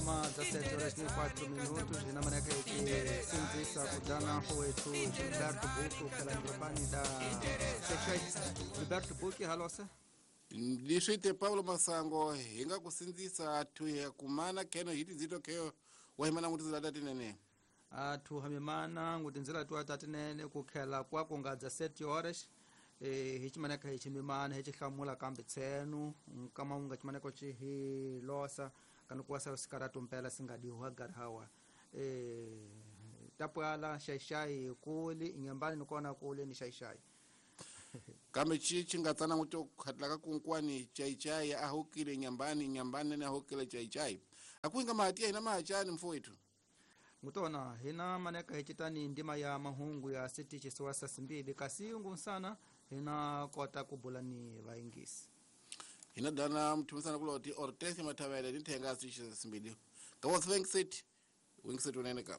Nga 17 horas ni 4 minutos hina maneka hi sindzisa ku dana mfowethu Gilberto Buki ukhela ndropani da Xaixai. Gilberto Buki halosa. Leswi te Paulo Masango hi nga ku sindzisa thuya kumana kheno hi tindzito kheyo wa himana ngutindzela ta tinene. Athu hamimana ngutindzela tuwa ta tinene ku khela kwa ku nga 17 horas hi chimaneka hi chimimana hi chihlamula kambe tsenu nkama unga chimaneko chi hi losa kana kuwasa sikaratu mpela singadiwa garhawa tapwala xaixai kuli inyambani nikona kuli ni xaixai kambe chi nga tsana nguto khatlaka kunkwani chaichai ahukile nyambani nyambani ne ahukile chaichai akuinga mahatia ina mahachani mfowethu ngutona hina maneka hichitani ndima ya mahungu ya sitichi siwasa simbili kasi ngunsana hina kota kubula ni vaingisi hina dana mthumisana kuloti Ortense Mathavele ni thenga sitichi simbili ka wingset unene ka.